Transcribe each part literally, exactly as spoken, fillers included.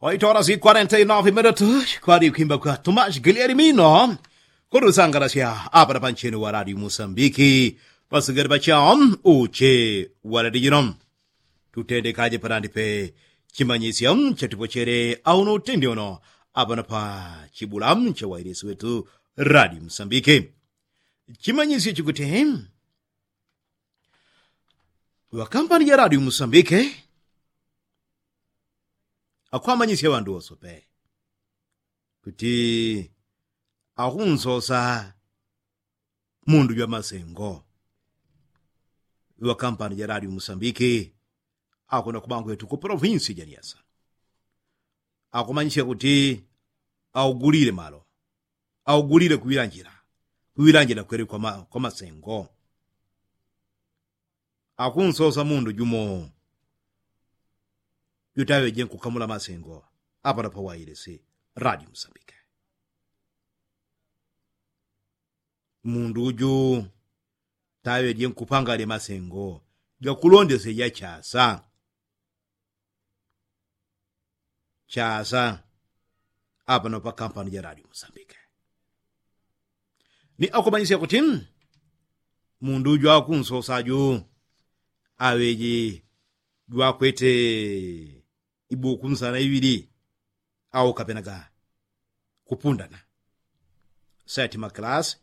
Oito horas y kwarenta y nove minutos kwali kwimba kwa tomashi gilieli mino. Kutusangalasya apa na pancheni wa radio musambiki, pasigari pacha uche wa radio jino. Tutendekaje panandi pe chimanyisyo chatipochele auno utendi uno apa na pa chibula cha wailesi wetu radio musambiki. Chimanyisyo chikuti wakampani ja radio musambiki akwamanyisya ŵandu wose pe kuti akunsosa mundu jwa masengo. Iŵakampani ja radio musambiki akuna kubangwetu ku polovinsi ja niasa akumanyisya kuti augulile malo, augulile kuŵilanjila, kuŵilanjila kweli kwa masengo. Akunsosa mundu jumo jutaŵeje nkukamula masengo apano pawailesi radio musambike. Mundu uju taŵeje nkupangale masengo gakulondesye ja chasa. Chasa apano pakampani ja radio musambike. Ni akumanyisya kuti mundu uju akunsosa aju aŵeje jwakwete ibuku nsana iŵili au kapenaga kupundana seti maklasi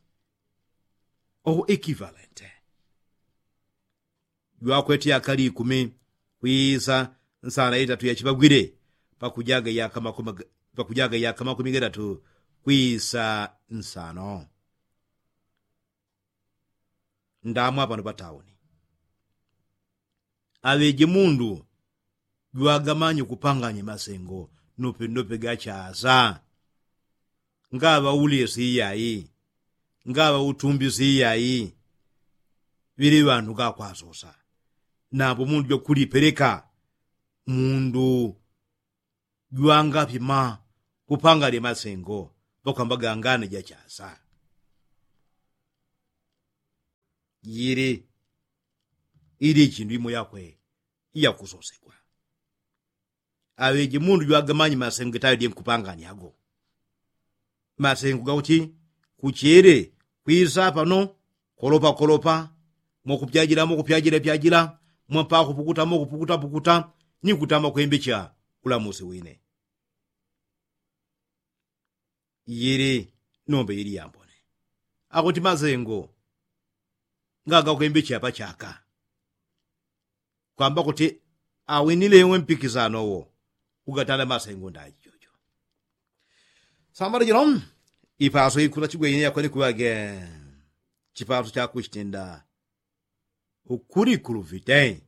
oho ekivalente. Jwakweti yakali ikumi kwisa nsana itatu yachipagwile pakujaga yaka makumi gatatu kwisa nsano. Ndamwa pano patauni aŵeje mundu jwagamanye kupanganye masengo nope nope gachasa. Ngaŵa ulesi iyai, ngaŵa utumbisi iyai. Ŵili ŵandu ngakwasosa nambo mundu jwakulipeleka mundu jwangapima kupanganye masengo pakwamba gangane jachasa. Jili ili chindu imo yakwe iyakusosegwa. Aŵeje mundu jwagamanye masengo gitaŵeje nkupanganya ago. Masengo gakuti kuchele kwisa pano kolopa kolopa mokupyajila mokupyajila pyajila mwapakupukuta mokupukuta pukuta ni kutama kwembecha ulamusi wine. Yili nombe yili yambone akuti masengo ngagakwembecha pachaka kwamba kuti awinile iwe mpikisano wo ugatanda masengo ndaji jojo. Samala jino ipaso ikuta chigweine yakoni kuŵage chipaso chakuchitenda ukulikuluvite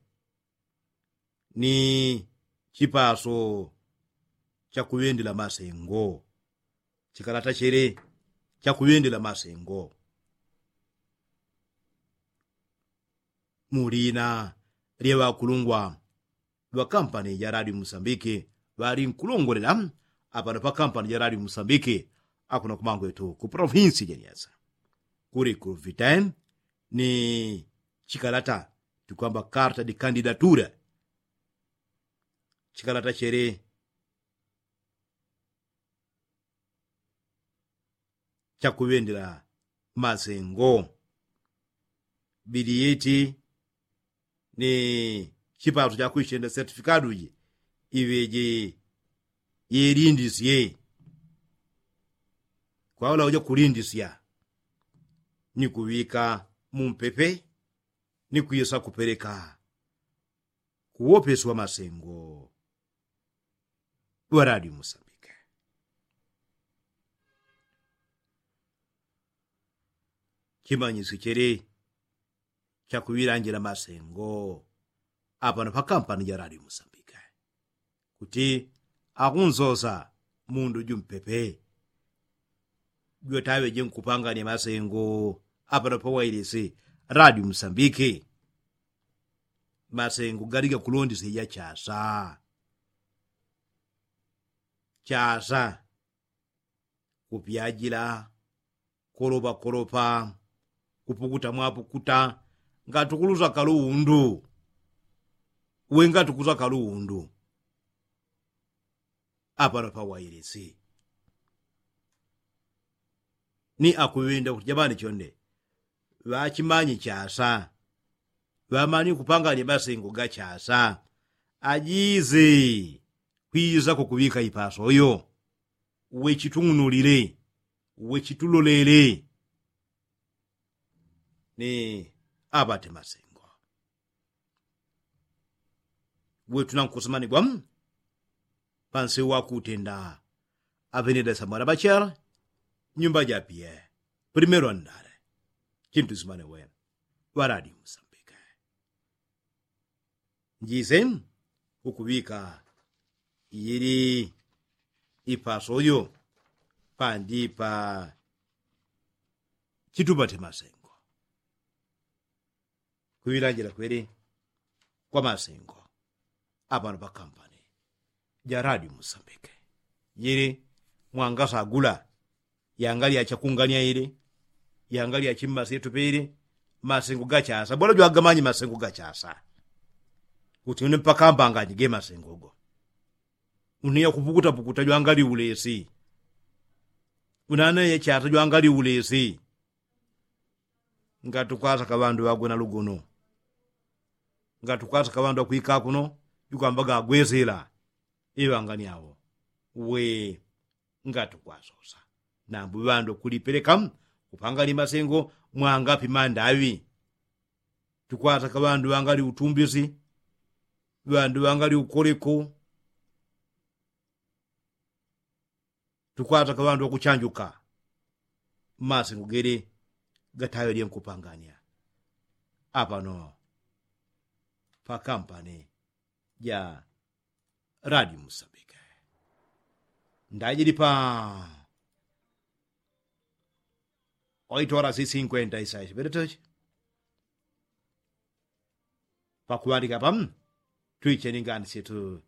ni chipaso chakuŵendela masengo. Chikalata chele chakuŵendela masengo. Mu lina lya ŵakulungwa ŵa kampani ja radio musambiki ŵali nkulongolela apano pa kampani ja radio musambiki akuno kumangwetu ku polovinsi ja nyasa kuli ku viten ni chikalata tikwamba karta di kandidatura. Chikalata chele chakuŵendela masengo. Biliyeti ni chipaso chakuichenda sertifikado ji iŵeje yelindisye. Kwaula uja kulindisya ni kuŵika mumpepe ni kwisa kupeleka kuwopesi wa masengo wa radio musambike. Chimanyisyo chele chakuŵilanjila masengo apano pa kampani ja radio musambike kuti akunsosa mundu jumpepe jwetaŵeje nkupanganya masengo apano pa wailisi radio musambike. Masengo gali gakulondesya ja chasa chasa kupyajila kolopa kolopa kupukuta mwapukuta ngati ukulusaka luundu. We ngati ukulusaka luundu apano pawailisi. Ni akuŵenda kuti jamani chonde ŵachimanyi chasa, ŵamanyi kupangani masengo ga chasa, ajize kwizako kuŵika ipasoyo. Wechitung'unulile, wechitulolele. Ni aŵate masengo wetu nankusimanigwa pansi wakutenda aŵenedesa mwalabachela nyumba japie. Primero ndale chintu simane we ŵaladi musambike. Njise ukuŵika ili ipasoyo pandipa chitupate masengo. Kuŵilanjila kweli kwa masengo apano pakampani ja radio musambike. Jili mwangasagula yangali yachakungania ili yangali yachimmasi yetupe ili masengo gachasa bola jwagamanyi masengo gachasa. Kuti une mpaka mbanganyi ge masengo go une yakupukutapukuta jwangali ulesi une ane yachasa jwangali ulesi. Ngatukwasaka ŵandu ŵagwe na lugono ngatukwasaka ŵandu ŵakwika kuno jukwamba gagwesela iŵangani awo. We ngatukwasosa nambu ŵandu kulipeleka kupangani masengo mwangapi mandaŵi. Tukwasaka ŵandu ŵangali utumbisi ŵandu ŵangali ukoleko. Tukwataka ŵandu ŵakuchanjuka masengo gele gataŵelye nkupangania apano pakampani ja radio musambike. Ndajili pa oitora si sinkwenta isaishi ŵeletochi pakuŵandika pa twiche ni ngani syetu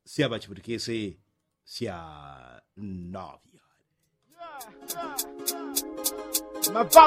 sya ŵachiputikisi sya novyo.